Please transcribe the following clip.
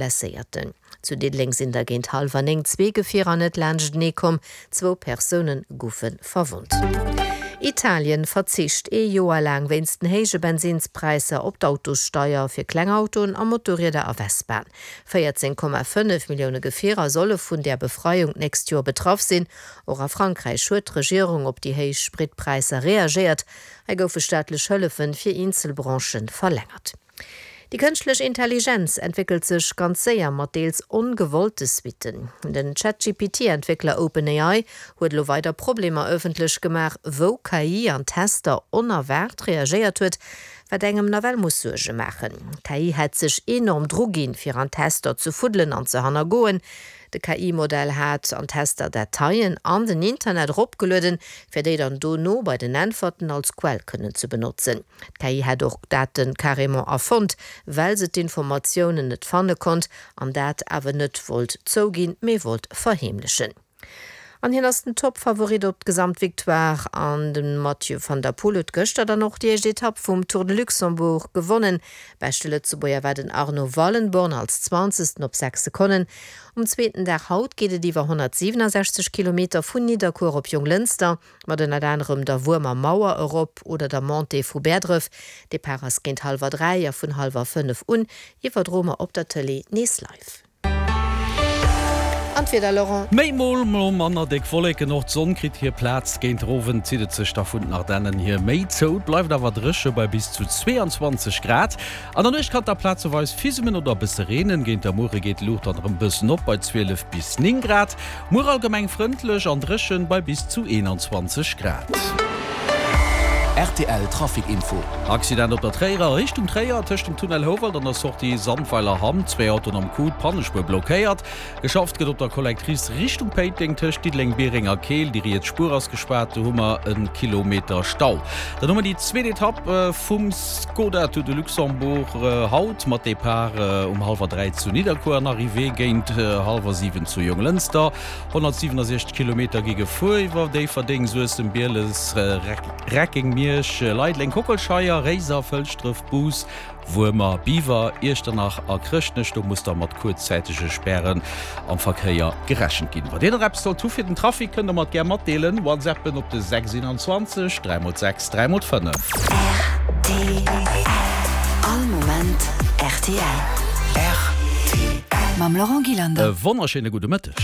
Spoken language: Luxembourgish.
Blesséierten. Zu Diddeleng sinn der géint hallwer 9 zwee Gefierer net laanschtenee komm, zwou Persoune goufe verwonnt. Italien verzicht ee Joer laang wéinst den héije Bensinnspräisser op d'Autossteier fir kleng Autoen a Motorrieder a Vespaen. 14,5 Millioune Gefierer solle vun där Befreiung d'nächst Joer betraff sinn. Och a Frankräich huet d'Regierung op déi héich Spritpräisser reagéiert. Hei goufe staatlech Hëllefe fir eenzel Branchë verlängert. Déi kënschtlech Intelligenz entwéckelt sech ganz séier, mat deels ongewollte Suitten. Den ChatGPT-Entwéckler OpenAI huet elo weider Problemer ëffentlech gemaach, wou KI an Tester onerwaart reagéiert huet, wat engem nawell muss Suerge maachen. D'KI hätt sech enorm druginn, fir an Tester ze fuddelen an ze hannergoen. De KI-Modell hat an Tester Dateien an den Internet eropgelueden, fir déi dann dono bei den Äntwerten als Quell kënnen ze benotzen. D'KI hätt och Date carrément erfonnt, well se d'Informatiounen net fanne konnt an dat awer net wollt zouginn, mee wollt verheemlechen. An hien ass den Toppfavorit op d'Gesamtvictoire an de Mathieu van der Poel huet gëschter dann och déi éischt Etapp vum Tour de Luxembourg gewonnen. Beschte Lëtzebuerger war den Arno Wallenborn als Zwanzegsten op 6 Sekonnen. Um zweeten Dag haut geet et iwwer 167 Kilometer vun Nidderkuer op Jonglënster, mat ënnert anerem der Wuermer Mauer erop oder der Montée vu Bäerdref. Depart ass géint hallwer 3 a vun hallwer 5 un iwwerdroe mer op der Tëlee nees live. An d'Wieder, Laurent? Méi mol, mol manner déck Wolleken, och d'Sonn kritt hir Plaz. Géint der Owend zitt et sech da vun den Ardennen hier méi zou, et bleift awer dréche bei bis zu 22 Grad. An der Nuecht kann et da plazeweis fismen oder e bësse reenen. Géint der Muere geet d'Luucht dann erëm bëssen op bei 12 bis 9 Grad. Muer allgemeng frëndlech an dréchen bei bis zu 21 Grad. Rtl Trafic Info. Accident op der Tréierer Richtung Tréier, tëscht dem Tunnel Houwald an der Sortie Sandweiler Hamm. Zwee Autoen am Coup, d'Pannespuer blockéiert. Geschafft gëtt op der Collectrice Richtung Péiteng, tëscht Diddeleng, Biereng a Keel. Déi riets Spuer ass gespaart, do hu mer e Kilometer Stau. Dann hu mer déi zweet Etapp vum Skoda Tour de Luxembourg haut mat Depart um hallwer 3 zu Nidderkuer an Arrivée géint hallwer 7 zu Jonglënster. 167 Kilometer gi gefuer iwwer Déifferdeng, Suessem, Bieles, Reckeng, Miersch, Leideleng, Kockelscheier, Réiser, Fëlschdref, Bous, Wuermer, Biwer, Iechternach a Chrëschtnech. Do muss da mat kuerzzäitege Spären am Verkéier gerechent ginn. Wann Dir nach eppes sollt hu fir den Trafic, kënnt der mer et gär matdeelen. Whatsappen op de 6 21 3 x 6 3 x 5. Rtl. All Moment rtl. Rtl. Mam Laurent Gillander. E wonnerschéine gudde Mëtteg.